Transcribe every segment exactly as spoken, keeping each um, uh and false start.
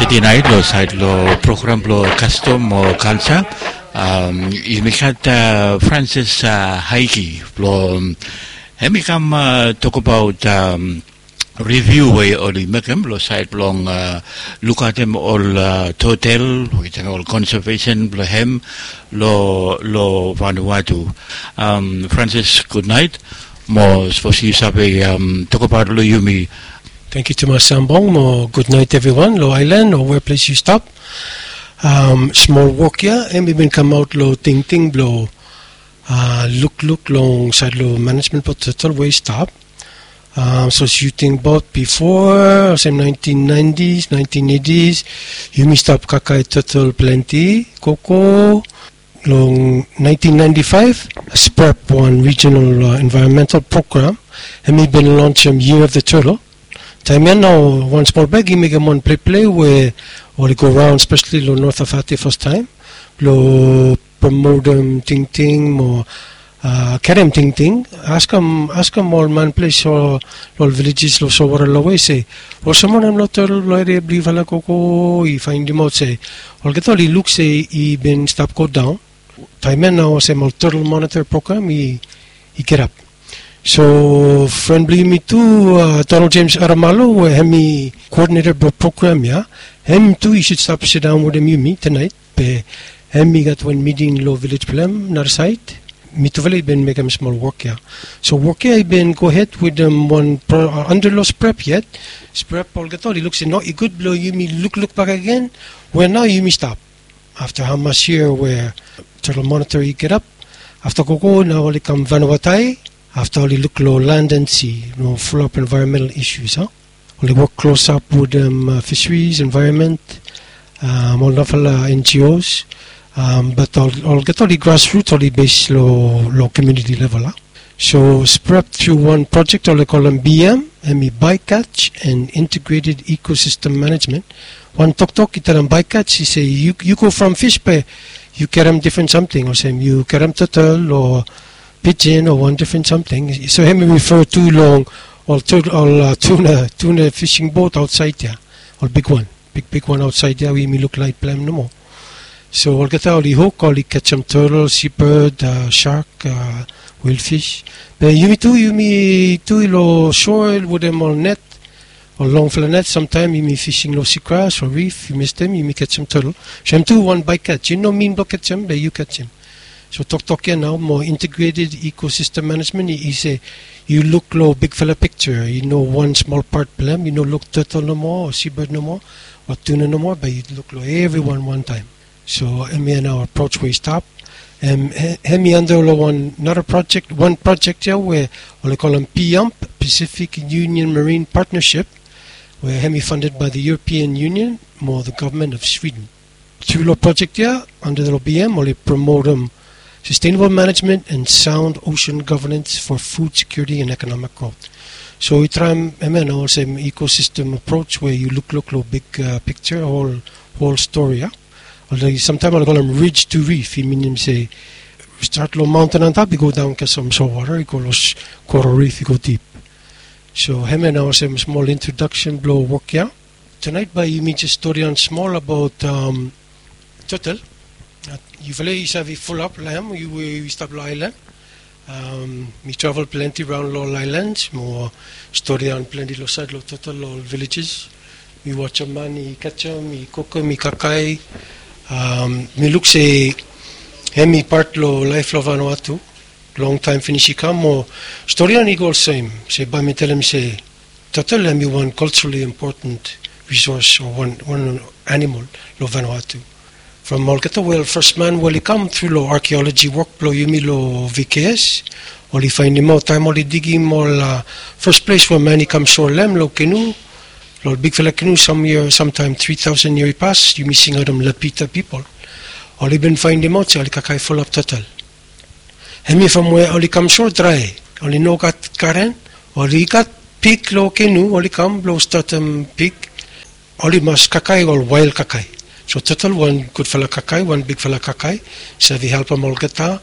Tinaet long sait long program blong kastom o kalsa, yumi gat Francis Haiki blong hem i kam tokabaot riviu we oli mekem long sait blong lukaotem ol totel, ol konsevesen blong hem long Vanuatu. Francis, gudnaet. Mo sapos yu save tokabaot long yumi. Tangkiu tumas Sambong, mo gudnaet evriwan long aelan o weples yu stap. Smol wok ya hem i bin kamaot long tingting blong lukluk long sait long manejmen blong total we i stap. Sapos yu tingbaot bifo, olsem naentin naentis, naentin eitis, yumi stap kakae total plante koko. Long naentin naenti faef, SPREP, wan rijonal envaeronmental program, hem i bin lonsem Year of the Turtle. Taem ya nao wan smol bek i mekem wan pleple we oli go raon spesali long North Efate fastaem blong promotem tingting mo kerem tingting. Askem ol manples long ol vilejes long solwara long we se olsem wanem long total blong eria blong yufala koko i faendimaot se olgeta oli luk se i bin stap godaon. Taem ya nao olsem ol total monitor program i gatap. So fren blong yumi tu, Donald James Aramalo, we hem i koodineta blong program ya, hem tu i sud stap sidaon wetem yumi tanaet. Be hem i gat wan miting long vilej blong hem nara sait. Mitufala i bin mekem smol wok ya. So wok ya i bin gohed wetem wan anda long SPREP yet. SPREP olgeta oli luk se no, i gud blong yumi lukluk bakegen we nao yumi stap. Afta hamas yia we total monitor i gatap, afta gogo nao oli kam Vanuatu. Afta oli luk long land and sea, long fulap envaeronmental isus, oli wok klosap wetem fiseris, envaeronmen, ol narafala NGOs. Bat olgeta oli grasrut, oli bes long komuniti level. So SPREP tru wan projek oli kolem BEAM, hem i Bycatch and Integrated Ecosystem Management. Wan toktok i talem bycatch i se yu go from fish be yu kerem difren samting, olsem yu kerem total o pijin o wan difren samting. So hem i refer tu long ol tuna, tuna fishing boat aotsaed ya, ol bigwan, bigbigwan aotsaed ya we yumi luk laet blong hem nomo. So olgeta oli huk, oli kejem turtle, seabird, shark, whalefish. Be yumi tu, yumi tu long shore wetem ol net, ol longfala net. Samtaem yumi fishing long seagrass o reef, yumi mistem, yumi kejem turtle. So hem tu wan bycatch, i no min blong kejem be yu kejem. So toktok ya nao mo integrated ecosystem management i se yu luk long bigfala pikja, i no wan smol pat blong hem, i no luk turtle nomo o seabird nomo o tuna nomo, be yu luk long evriwan wantaem. So hemia nao approach we i stap. Hemi anda long wan nara projek, wan projek ya we oli kolem PIUMP, Pacific Union Marine Partnership, we hemi funded by the European Union mo the government of Sweden. Tru long projek ya anda long BEAM oli promotem sustainable management and sound ocean governance for food security and economic growth. So i traem hemia nao olsem ecosystem approach we yu lukluk long big pikja, hol stori ya. Samtaem oli kolem ridge to reef, i minim se stat long maonten antap i go daon kesem solwota i go long coral reef i go dip. So hemia nao olsem smol introdaksen blong wok ya. Tanaet bae yumi jes storian smol abaot total. Yufala i save fulap long hem, yu we i stap long aelan. Mi travel plante raon long ol aelans mo storian plante long saed long total long ol vilejes. Mi wajem man i kejem, i kukum, i kakae. Mi luk se hemi pat long laef long Vanuatu. Longtaem finis i kam mo storian i go olsem se bae mi talem se total hemi wan culturally important resource o wan animal long Vanuatu. From olgeta we ol fes man we oli kam tru long archaeology wok blong yumi long VKS, oli faendimaot taem oli digim ol fes ples we man i kam sua long hem long kenu, long ol bigfala kenu, samtaem tri taosen yia i pas, yumi singaot hem Lapita pipol. Oli bin faendimaot se oli kakae fulap total. Hemi from we oli kam sua drae, oli no gat garen, oli gat pig long kenu, oli kam blong statem pig, oli mas kakae ol wael kakae. So total wan gudfala kakae, wan bigfala kakae, save helpem olgeta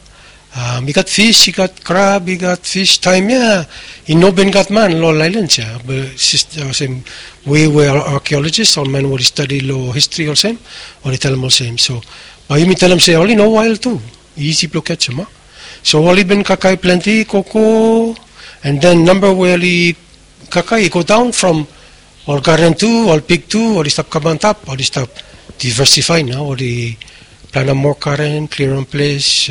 I gat fis, i gat krab, i gat fis. Taem ya i no bin gat man long ol aelan ya, be olsem we we arkeolojis, ol man we oli stadi long histri olsem, oli talem olsem. So bae yumi talem se oli no wael tu, isi blong kejim a. So oli bin kakae plante koko, and then namba we oli kakae i go daon from ol garen tu, ol pig tu, oli stap kam antap, oli stap diversifai nao, oli planem moa garen, klirim ples,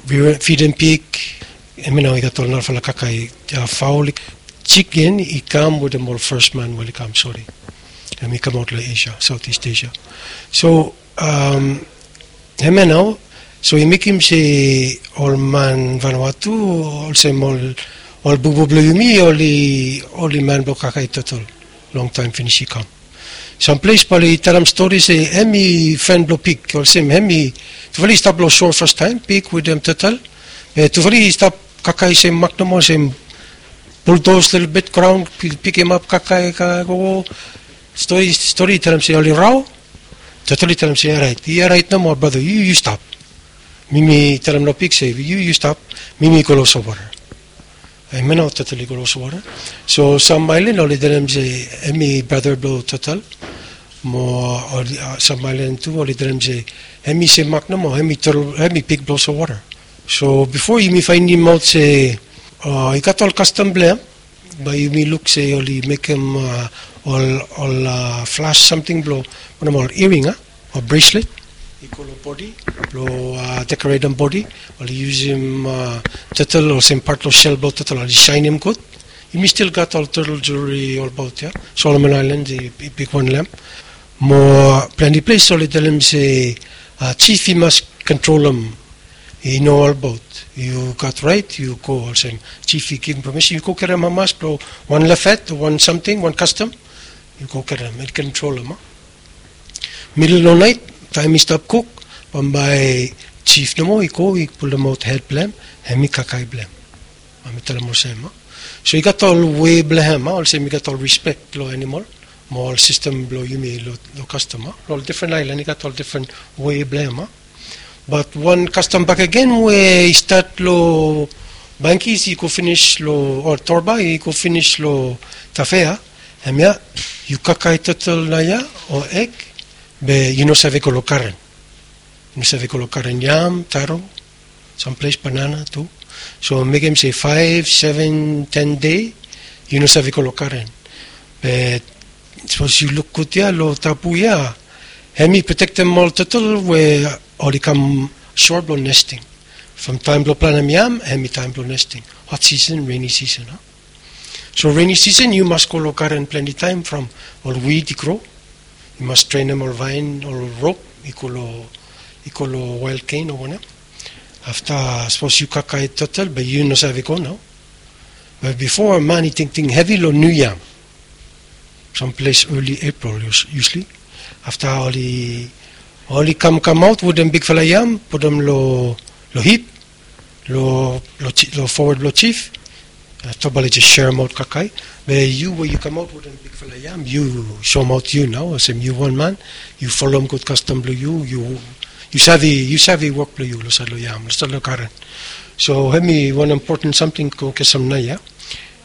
fidim pig. Hemia nao i gat ol narafala kakae, faol, jiken i kam wetem ol fes man we oli kam, sori. Hem i kamaot long Asia, Southeast Asia. So hemia nao, so i mekem se ol man Vanuatu, olsem ol bubu blong yumi, oli man blong kakae total. Longtaem finis i kam. Sam ples bae oli talem stori se hem i fren blong pig, olsem hem i, tufala i stap long sua fastaem, pig wetem total. Be tufala i stap kakae sem mak nomo, sem buldos lelebet graon, pikimap, kakae, kakae gogo. Stori i talem se oli rao. Total i talem se, orait, i orait nomo brata, yu yu stap. Mi mi talem long pig se yu yu stap, mi mi go long solwota. Hemia nao total i go long solwota. So sam aelan oli talem se hem i brata blong total. Mo sam aelan tu oli talem se hem i sem mak nomo, hem i pig blong solwota. So bifo yumi faenemaot se i gat ol kastom blong hem, bae yumi luk se oli mekem ol flas samting blong, ol iring a, ol breslet i go long bodi blong dekoretem bodi. Oli yusum total olsem pat long sel blong total, oli saenem gud. Yumi stil gat ol total jewelry olbaot ya. Solomon Aelan i bigwan long hem. Mo plante ples oli talem se jif i mas kontrolem. I no olbaot yu gat raet yu go, olsem jif i givim pamisen yu go karem hamas blong wan lef hed o wan samting, wan kastom, yu go karem, i kontrolem. Midel long naet, taem i stap kuk, bambae jif nomo i go i pulemaot hed blong hem, hem i kakae blong hem. Bae mi talem olsem. So i gat ol wei blong hem, olsem i gat ol rispek long anamol mo ol sistem blong yumi long kastom. Long ol difren aelan i gat ol difren wei blong hem. Bat wan kastom bakegen we i stat long Bangkis i go finis long, o Torba i go finis long Tafea, hemia, yu kakae total naoia o eg, be yu no save go long garen. Yu no save go long garen yam, taro, samples banana tu. So mekem se faef, seven, ten dei, yu no save go long garen. Be sapos yu luk gud ya long tabu ya, hem i protektem ol total we oli kam sua blong nesting. From taem blong planem yam, hem i taem blong nesting. Hot sisen, reni sisen. So reni sisen yu mas go long garen plante taem from ol wid i gro. Yu mas drenem ol vaen, ol rop i go long, i go long wael gen o wanem. Afta sapos yu kakae total be yu no save go nao. Be bifo man i tingting hevi long niu yam. Samples early April usually. Afta oli, oli kamkamaot wetem bigfala yam, putum long, long hip, long, long forward blong jif. Afta bae oli jes seremaot kakae. Be yu we yu kamaot wetem bigfala yam, yu soemaot yu nao olsem yu wan man, yu folem gud kastom blong yu, yu, yu save, yu save wok blong yu long saed long yam, long saed long garen. So hem i wan impoten samting go kesem naoia.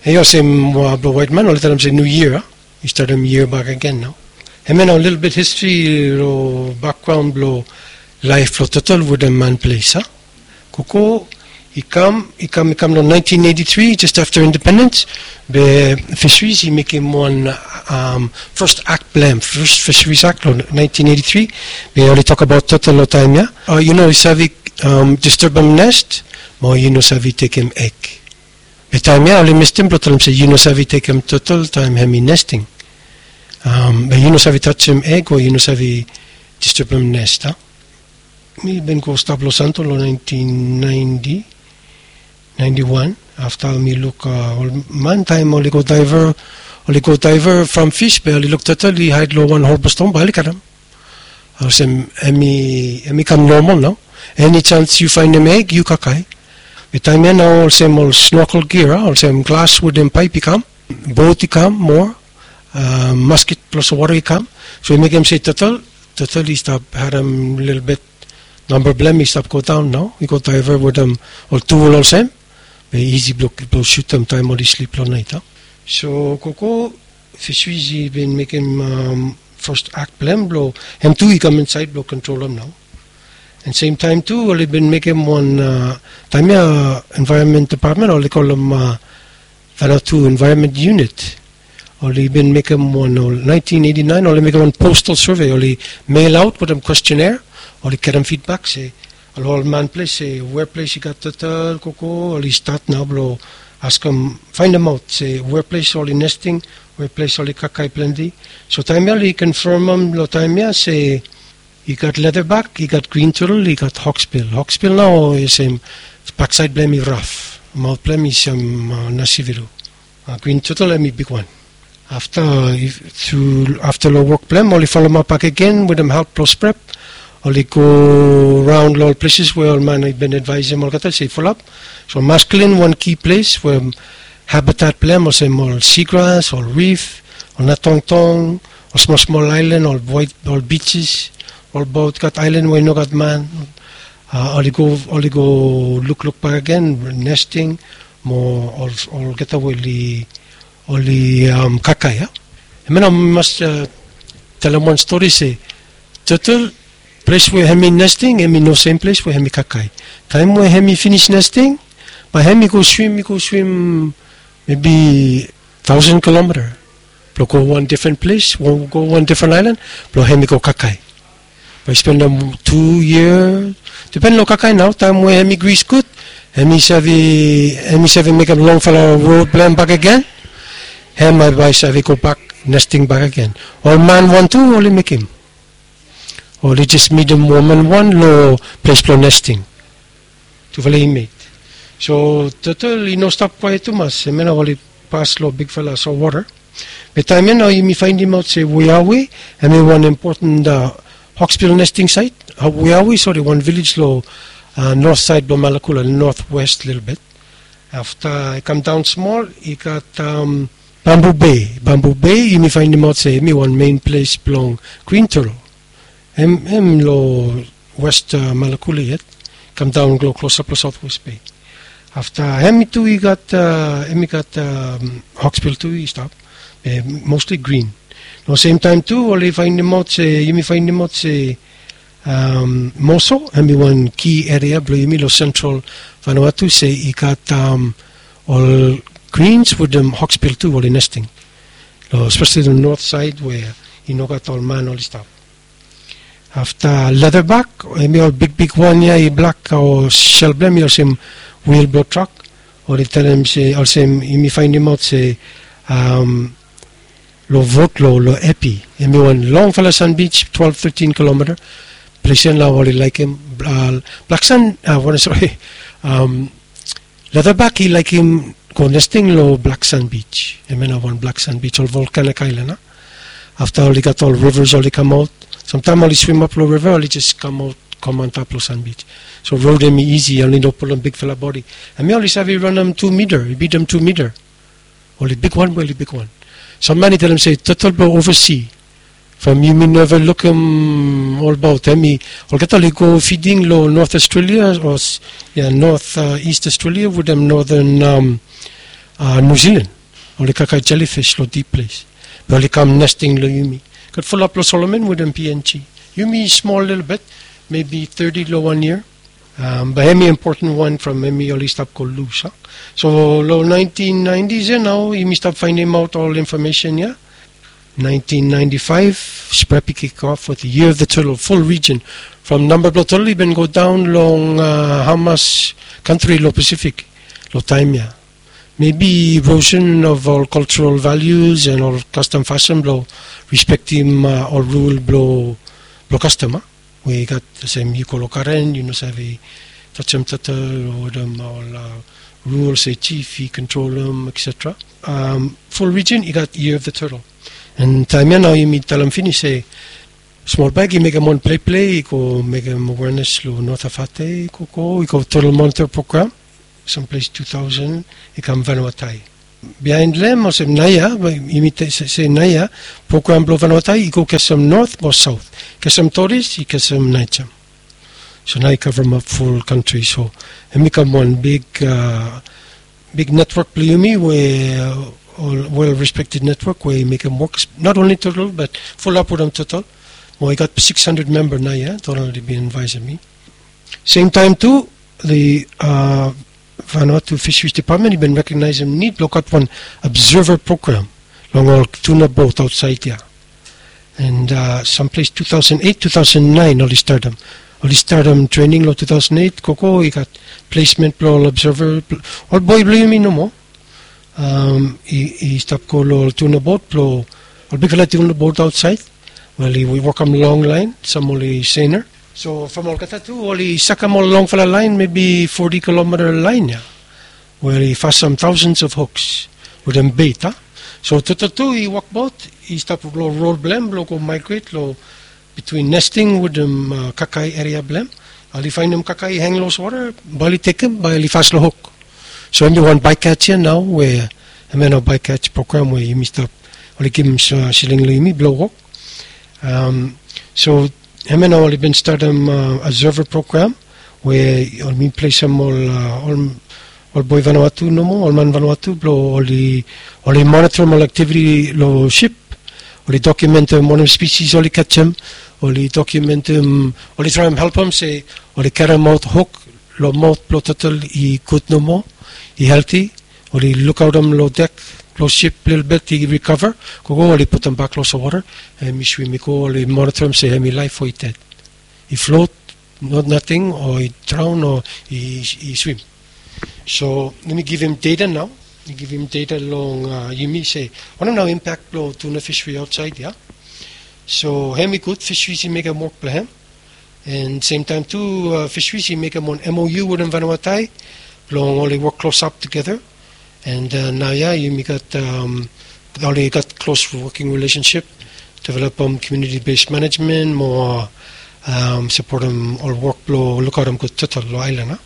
Hem i olsem blong waet man oli talem se niu yia, a? I statem yia bakegen nao. Hemia nao lelebet histri long bakgraon blong laef blong total wetem man ples, a? Koko i kam, i kam, i kam long naentin eiti tri, jes afta independens, be Fisheries i mekem wan fes ak blong hem, fes Fisheries Ak long naentin eiti tri, be oli tokbaot total long taem ya. Yu no save disturbem nest, mo yu no save tekem eg. Be taem ya oli mestem blong talem se yu no save tekem total taem hem i nesting. Be yu no save tajem eg o yu no save disturbem nest, a? Mi bin go stap long Santo long naentin naenti, naenti wan. Afta mi luk ol man taem oli go daeva, oli go daeva from fis be oli luk total i haed long wan hol blong ston bae oli karem. Olsem hem i, hem i kam nomal nao. Eni jans yu faenem eg yu kakae. Be taem ya nao olsem ol snorkel gear, a, olsem glas wetem paep i kam, bot i kam moa, masket blong solwota i kam. So i mekem se total, total i stap harem lelebet Namba blong hem i stap go daon nao, i go daiva wetem ol tul olsem. Be isi blong sutem taem oli slip long naet. So koko, fisheries i bin mekem fas ak blong hem blong hem tu i kam insaed blong kontrolem nao. And sem taem tu oli bin mekem wan, taem ya envaeronmen depatmen oli kolem Vanuatu Environment Unit, oli bin mekem wan ol naentin eiti naen oli mekem wan postal survey, oli mel aot wetem kwestionere, oli getem fidbak se ol ol man ples se wea ples i gat total koko, oli stat nao blong askem, faendemaot se wea ples oli nesting, wea ples oli kakae plante. So taem ya oli konfamem long taem ya se i gat leatherback, i gat green turtle, i gat hawksbill. Hawksbill nao i sem baksaed blong hem i raf, maot blong hem i sem nasivilu. Green turtle hem i bigwan. Afta long wok blong hem oli folem ap bakegen wetem help blong SPREP, oli go raon long ol pleses we ol man i bin advaesem olgeta se i folem ap. So maskulin wan ki ples we habitat blong hem olsem ol seagrass, ol rif, ol natongtong, ol smol smol aelan, ol waet, ol beaches, ol baot gat aelan we i no gat man. Oli go, oli go lukluk bakegen, nesting, mo olgeta we oli, oli kakae ya. Hemia nao mi mas talem wan stori se turtle, ples we hem i nesting hem i no sem ples we hem i kakae. Taem we hem i finis nesting, bae hem i go swim, i go swim mebi taosen kilometa blong go wan difren ples, go wan difren aelan, blong hem i go kakae. Bae i spendem tu yia, dipen long kakae nao, taem we hem i gris gud, hem i save, hem i save mekem longfala rod blong hem bakegen. Hem bae i save gobak nesting bakegen. Ol man wan tu oli mekem, oli jes midim woman wan long ples blong nesting. Tufala i met. So turtle i no stap kwaet tumas, hemia nao oli pas long bigfala solwota. Be taem ya nao yumi faenemaot se Wiawi hem i wan impoten hawksbill nesting sait. Wiawi, sori, wan vilej long north saed blong Malakula, northwest lelebet. Afta i kam daon smol i gat Bamboo Bay. Bamboo Bay yumi faenemaot se hem i wan mein ples blong green turtle. Hem, hem long west Malakula yet, kam daon long klosap long Southwest Bay. Afta hem tu i gat, hem i gat hawksbill tu i stap, be mostly green. Long sem taem tu oli faenemaot se, yumi faenemaot se Moso hem i wan ki eria blong yumi long sentral Vanuatu se i gat ol greens wetem hawksbill tu oli nesting, long spesali long north saed we i no gat ol man oli stap. Afta leatherback, hem i ol bigbig wan ya i blak, o sel blong hem i olsem wil blong trak. Oli talem se olsem yumi faenemaot se long vot long Epi, hem i wan longfala sanbij, twelve thirteen kilometa. Ples ya nao oli laekem blak san, wanem, sori, leatherback i laekem go nesting long blak sanbij. Hemia nao wan blak sanbij, ol volkanik aelan. Afta oli gat ol rivers oli kamaot. Samtaem oli swim ap long river, oli jes kamaot, kam antap long sanbij. So rod hem i isi, oli no pulum bigfala bodi. Hemia oli save ranem tu mita, i bitim tu mita. Oli bigwan, oli bigwan. Sam man i talem se turtle blong ovasi, from yumi neva lukim olbaot hem i, olgeta oli go fiding long North Australia, o ya, North East Australia wetem Northern New Zealand. Oli kakae jellyfish long dip ples, be oli kam nesting long yumi. Gat fulap long Solomon wetem P N G. Yumi smol lelebet, maybe thirty long wan yia. Be hem i impoten wan from hem i oli stap go lus. So long nineteen nineties ya nao yumi stap faenemaot ol infomesen ya. Nineteen ninety-five, SPREP i kick off with the Year of the Turtle, full region. From namba blong turtle i bin go daon long hamas kantri long Pacific long taem ya. Maybe erosion of ol cultural values and ol kastom fasin blong respektim ol rul blong kastom, we i gat olsem yu go long garen yu no save tajem turtle o wetem ol rul se jif i kontrolem, et cetera. Full region i gat Year of the Turtle. And taem ya nao yumi talem finis se Smol Bag i mekem wan pleple, i go mekem awareness long North Efate, i go go i go Turtle Monitor program. Samples two thousand i kam Vanuatu. Biaen long hem olsem naoia, yumi se naoia, program blong Vanuatu i go kesem north mo south, kesem Torres i kesem Najem. So nao i kavremap ful kantri. So hem i kam wan big, big netwok blong yumi we ol well respected netwok we i mekem wok, not only Turtle but fulap wetem Turtle. Mo i gat six hundred memba nao ya, Donald i bin advaesem mi. Semtaem tu, the Vanuatu Fisheries Department i bin rekognaesem nid blong gat wan observer program long ol tuna bot aotsaed ya. And samples two thousand eight, two thousand nine oli statem, oli statem trening long two thousand eight. Gogo i gat plesmen blong ol observer, ol boe blong yumi nomo i stap go long ol tuna bot blong ol bigfala tuna bot aotsaed. Wel, i wokem long laen, sam oli seina. So from olgeta tu oli sakem ol longfala laen, mebi forty kilomita laen ya, we oli fasem thousands of hooks wetem beit. So Turtle tu i wokbaot, i stap long rol blong hem blong go migrate long between nesting wetem kakae eria blong hem. Oli faenem kakae i hang long olsem wota, bae oli tekem, bae oli fas long hook. So hem i wan bycatch ya nao, we hem ya nao bycatch program we yumi stap, oli givim siling long yumi blong wok. So hem ya nao oli bin statem observer program we oli plesem ol ol boe Vanuatu nomo, ol man Vanuatu blong oli monitorim ol aktiviti long sip. Oli dokumentem wanem spisis oli kajem, oli dokumentem, oli traem helpem se oli karemaot hook long maot blong Turtle i gud nomo, i helti. Oli lukaotem long dek blong sip lelebet i rikava. Gogo oli putumbak long olsem wota, hem i swim i go, oli monitorim se hem i laef o i ded, i flot, not nating, o i draon o i swim. So yumi givim data nao, yumi givim data long yumi se wanem nao impak blong tuna fishery aotsaed ya. So hem i gud, fisheries i mekem wok blong hem. And semtaem tu, fisheries i mekem wan MOU wetem Vanuatu blong oli wok klosap tugeta. And nao ya yumi gat, oli gat klos woking rilesensip, developem community based management mo sapotem ol wok blong lukaotem gud Turtle long aelan.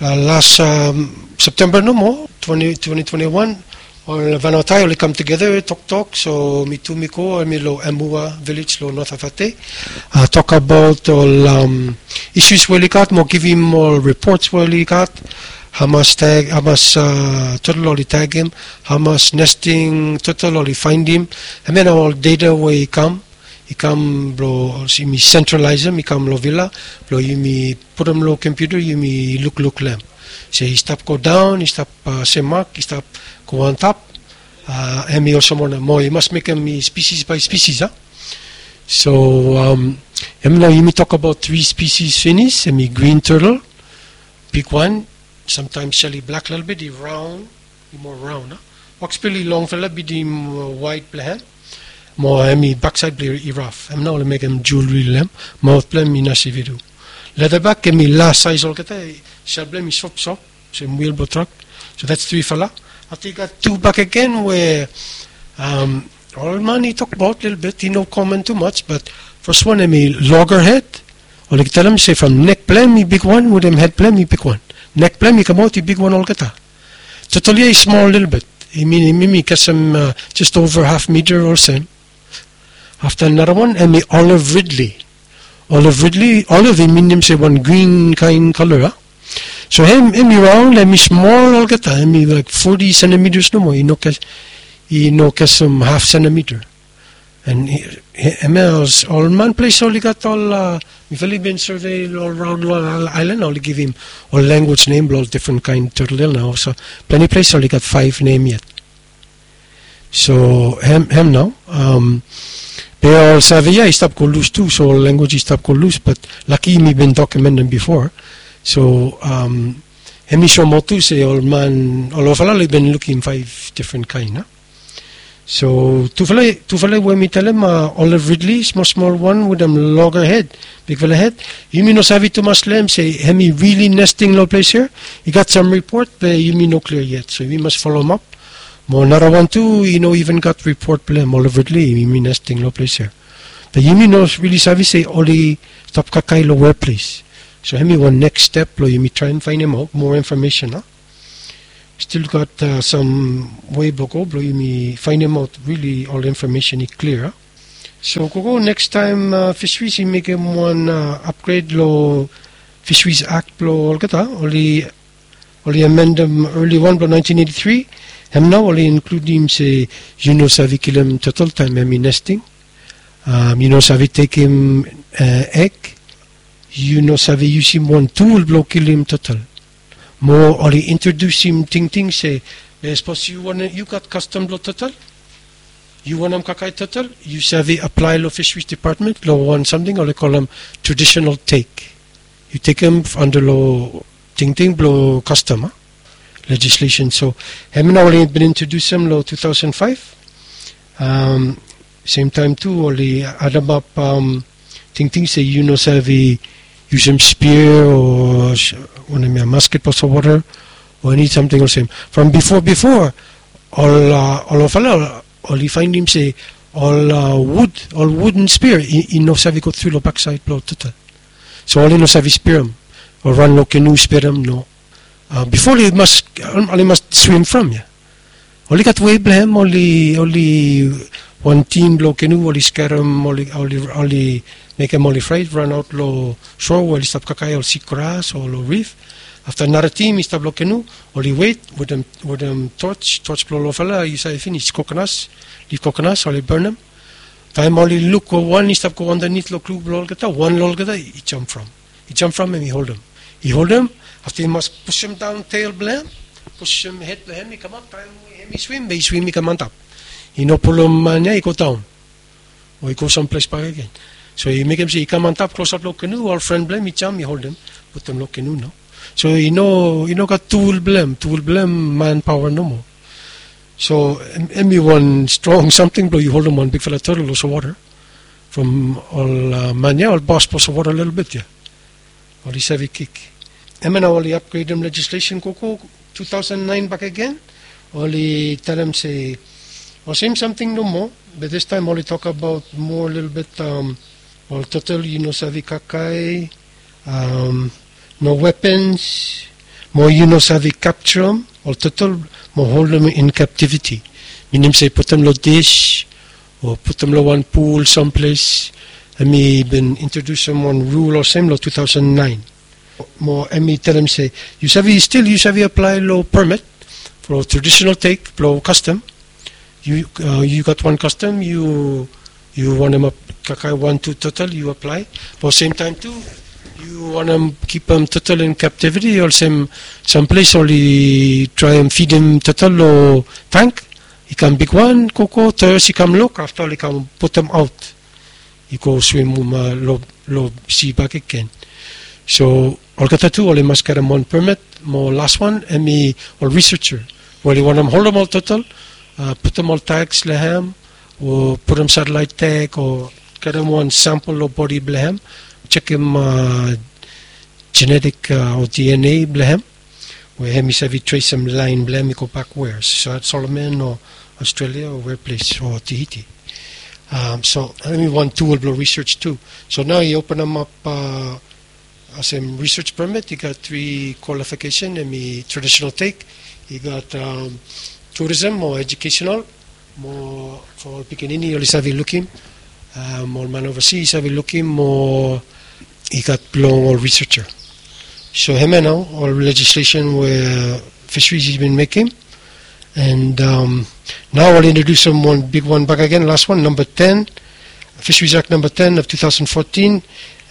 Las Septemba nomo, twenty twenty-one, ol Vanuatu oli kam tugeta toktok. So mi tu mi go, hem i long Emua village long North Avate, tokbaot ol issues we oli gat mo givim ol reports we oli gat, hamas tag, hamas Turtle oli tagem, hamas nesting Turtle oli faendim. Hem ya nao ol data we i kam, i kam blong yumi sentralaesem, i kam long villa blong yumi putum long kompiuta, yumi lukluk long hem se i stap godaon, i stap semak, i stap go antap. Hem i olsem wanem, mo i mas mekem i spisis bae spisis. So hem nao yumi tokbaot tri spisis finis, hem i green turtle, bigwan, samtaem sel i blak lelebet, i raon, i moa raon. Hawksbill i longfala bitim waet blong hem, mo hem i baksaed blong i raf. Hem nao oli mekem jewelry long hem. Maot blong hem i nasivi tu. Leatherback hem i las saes olgeta, sel blong hem i sopsop olsem wil blong trak. So that's trifala. Afta i gat tu bakegen we ol man i tokbaot lelebet, i no komen tumas, but fes wan hem i loggerhead. Oli talem se from nek blong hem i bigwan wetem hed blong hem i bigwan. Nek blong hem i kamaot i bigwan olgeta. Turtle ya i smol lelebet. I min, hem i kasem just over half meter olsem. Afta narawan hem i olive ridley. Olive ridley, olive i minim se wan grin kaen kala. So hem, hem i raon, hem i smol olgeta, hem i laek forty centimeters nomo, i no kasem half centimeter. And hem ya ol man ples oli gat ol, mifala i bin survey ol raon long aelan, oli givim ol language nem blong ol difren kaen turtle ya nao. So plante ples oli gat faef nem yet. So hem, hem nao. Be ol survey ya i stap go lus tu, so ol language i stap go lus, but laki yumi bin dokumentem bifo. So hem i soemaot tu se ol man olgeta oli bin lukim faef difren kaen. So tufala, tufala we mi talem, olive ridley, smol smol wan wetem loggerhead, bigfala hed. Yumi no save tumas long hem se hem i rili nesting long ples ya. I gat sam ripot be yumi no klia yet, so yumi mas folomap. Mo narawan tu i no iven gat ripot blong hem, olive ridley, yumi nesting long ples ya. Be yumi no rili save se oli stap kakae long wea ples. So hem i wan neks step blong yumi traem faenemaot moa infomesen. Stil gat sam wei blong go blong yumi faenemaot rili ol infomesen i klia. So gogo, nekstaem Fisheries i mekem wan upgred long Fisheries Act blong olgeta, oli oli amendem early wan blong nineteen eighty-three. Hem nao oli inkludim se yu no save kilim turtle taem hem i nesting. Yu no save tekem egg. Yu no save yusim wan tul blong kilim turtle. Mo oli introdusim tingting se, sapos yu gat kastom blong turtle, yu wantem kakae turtle, yu save aplae long Fisheries Department long wan samting oli kolem traditional take. Yu tekem anda long tingting blong kastom, legislation. So hem nao oli bin introdusim long two thousand five. Semtaem tu oli ademap tingting se yu no save yusim spia o wanem ya, masket blong solwota o eni samting olsem. From bifo bifo, ol olfala oli faenem se ol wud, ol wuden spia i no save go tru long baksaed blong turtle. So oli no save spiam o ran long kenu spiam, no. Bifo oli mas, oli mas swim from ya. Oli gat wei blong hem, oli, oli wan tim blong kenu oli skerem, oli, oli mekem oli fraet, ranaot long soa we oli stap kakae ol sikgras o long rif. Afta nara tim i stap long kenu, oli wet wetem, wetem toch, toch blong olfala yu save finis, kokonas, lif kokonas, oli bonem. Taem oli luk wan i stap go andanit long klu blong olgeta, wan long olgeta i jam from. I jam from hem i holdem. I holdem, afta i mas pusim daon tel blong hem, pusim hed blong hem i kamap, taem hem i swim, be i swim i kam antap. I no pulum man ya i go daon o i go samples bakegen. So i mekem se i kam antap klosap long kenu, ol fren blong hem i jam i holdem, putum long kenu nao. So i no, i no gat tul blong hem, tul blong hem manpaoa nomo. So hem i wan strong samting blong yu holdem wan bigfala turtle long solwota. From ol man ya ol bos blong solwota lelebet ya, oli save kik. Hemia nao oli apgredem legislation gogo two thousand nine bakegen. Oli talem se ol sem samting nomo, be distaem oli tokbaot moa lelebet, ol turtle yu no save kakae, no weapons, mo yu no save kapjarem ol turtle mo holdem in captivity. Minim se putum long dis o putum long wan pul samples. Hem i bin introdusim wan rul olsem long two thousand nine. Mo hem i talem se yu save, stil yu save aplae long permit, long traditional take blong kastom. Yu gat wan kastom, yu yu wantem kakae wan tu turtle, yu aplae. Be semtaem tu yu wantem kipim turtle in captivity, olsem samples oli traem fidim turtle long tank, i kam bigwan gogo, tourist i kam luk, afta oli kam putum aot i go swim long si bakegen. So olgeta tu oli mas karem wan permit. Mo laswan hem i ol researcher we oli wantem holdem ol turtle, putum ol tags long hem, o putum satellite tag o karem wan sampel long bodi blong hem, jekem genetik o DNA blong hem, we hem i save tresem laen blong hem i go bakweas, Solomon o Australia o weples o Tahiti. So hem i wan tul blong research tu. So nao i openemap olsem research permit i gat tri qualification, hem i traditional take, i gat tourism o educational, mo for ol pikinini oli save lukim, ol man ovasi i save lukim, mo i gat blong ol researcher. So hemia nao ol legislation we Fisheries i bin mekem. And nao oli introdusim wan bigwan bakegen, laswan, namba ten, Fisheries Act namba ten of two thousand fourteen.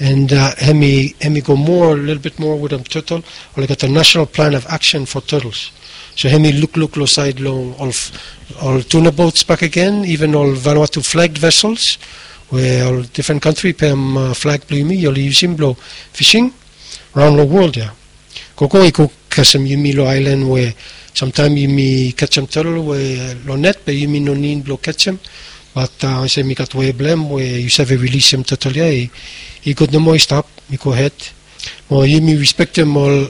And hem i go moa, lelebet moa wetem turtle. Oli gat a national plan of action for turtles. So hem i lukluk long saed long ol tuna boats bakegen, iven ol Vanuatu flagged vessels, we ol difren kantri i pem flag blong yumi oli yusim blong fishing raon long wol ya. Gogo i go kasem yumi long aelan we samtaem yumi kajam turtle we long net be yumi no nid blong kajam. Bat olsem i gat wei blong hem we yu save rilisim turtle ya, i gud nomo i stap, i gohed. Mo yumi respektem ol,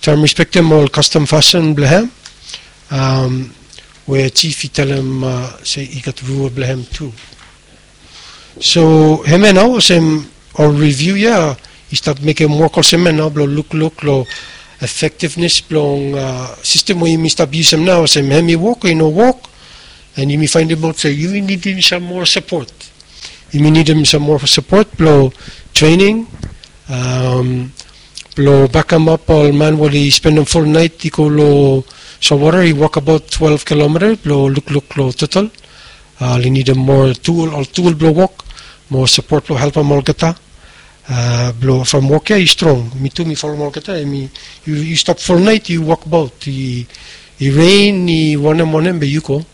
taem respektem ol kastom fasin blong hem, we jif i talem se i gat rul blong hem tu. So hemia nao olsem ol riviu ya i stap mekem wok olsem ya nao blong lukluk long efektivnes blong sistem we yumi stap yusim nao, olsem hem i wok o i no wok. And yumi faenemaot se yumi nidim sam moa sapot. Yumi nidim sam moa sapot blong trening, blong bakemap ol man we oli spendem ful nait i go long solwota, i wokabaot twelve kilomita blong lukluk long total. Oli nidim moa tul, ol tul blong wok, moa sapot blong helpem olgeta. Blong from wok ya i strong, mi tu mi folem olgeta, em i, yu stap ful nait yu wokbaot, i rein, i wanem wanem, be yu go.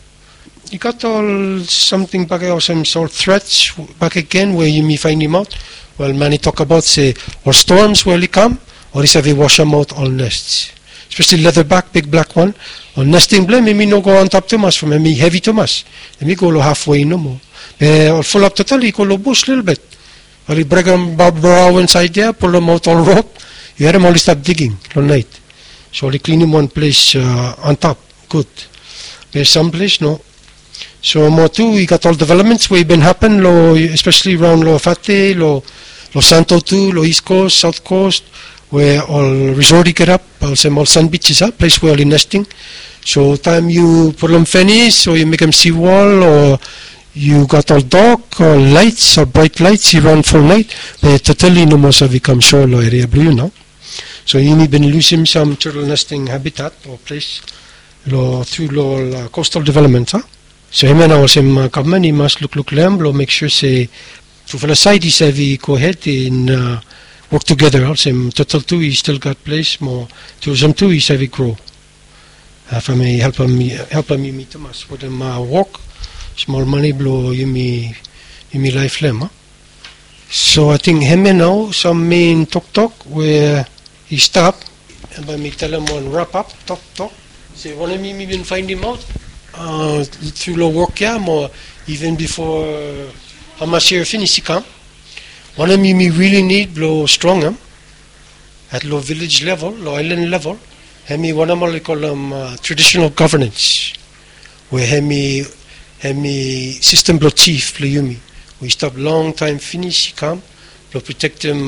I gat ol samting bakegen olsem ol threats bakegen we yumi fainimaot. Wel, man i tokbaot se ol storms we oli kam, oli save wasemaot ol nests, espeseli leatherback, big black wan. Ol nesting blong hem, hem i no go antap tumas from hem i hevi tumas. Hem i go long hafwe nomo. Be ol fulap total i go long bus lelebet. Oli brekem barbed wire insaed ya, pulemaot ol rod. Yu harem oli stap diging long nait. So oli klinim wan ples antap gud. Be sam ples no. So moa tu i gat ol developments we i bin hapen long, espeseli raon long Fate, long Santo tu, long East Coast, South Coast, we ol resort i gatap olsem ol sand beaches, a ples we oli nesting. So taem yu pulem fenis o yu mekem seawall o yu gat ol dok o laets o brait laets i ran ful nait, be totali i no moa save kam soa long eria blong yu nao. So yumi bin lusim sam turtle nesting habitat o ples long, tru long ol coastal developments, a. So hemia nao olsem gavman i mas lukluk long hem blong mek sua se tufala saed i save go hed in wok tugeta, olsem turtle tu i stil gat ples mo tourism tu i save gro. From i helpem yumi tumas wetem wok, smol mane blong yumi laef long hem. So ating hemia nao sam mein toktok we i stap. Bae mi talem wan wrap up toktok se wanem yumi bin fainimaot tru long wok ya mo even bifo hamas yia finis i kam. Wanem yumi rili nid blong strongem at long vilej level, long aelan level, hemi wanem oli kolem traditional governance, we hemi sistem blong jif blong yumi we i stap longtaem finis i kam blong protektem,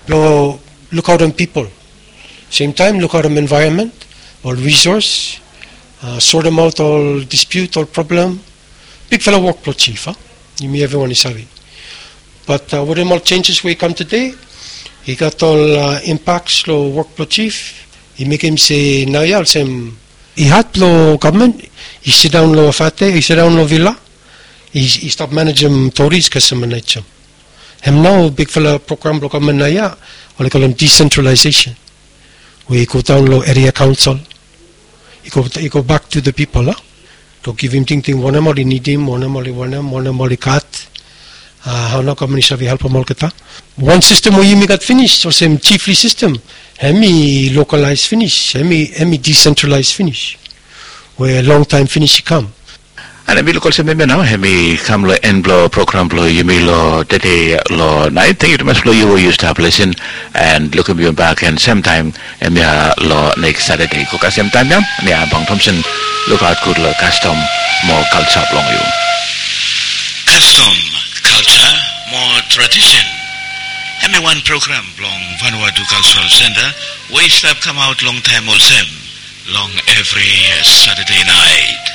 blong lukaotem pipol, semtaem lukaotem envaeronmen, ol risos, sortemaot ol dispiut, ol problem. Bigfala wok blong jif, a? Yumi evriwan i save. Bat wetem ol jenjes we i kam tede, i gat ol impaks long wok blong jif. I mekem se naoia olsem i had blong gavman i sidaon long Fate, i sidaon long Vila, i stap manejem toris kasem naet. Hem nao bigfala program blong gavman naoia oli kolem desentralaesesen, we i go daon long eria kaonsel, i go bak tu the pipol, a, long givim tingting wanem oli nidim, wanem oli wanem, wanem oli gat, hao nao gavman i save helpem olgeta. Wan sistem we yumi gat finis olsem jifli sistem, hemi lokalaes finis, hemi desentralaes finis, we longtaem finis i kam. And hemi luk olsem hemia nao hemi kam long en blong program blong yumi long tede long naet. Tangkiu tumas blong yu we yu stap lisin and lukim yumi bak gen semtaem hemia long neks Satade. Go kasem taem ya, mi Abang Thomson. Lukaot gud long kastom mo kalja blong yu. Kastom, kalja mo tradisen. Hemi wan program blong Vanuatu Kaljaral Senta we i stap kamaot longtaem olsem long evri Satade naet.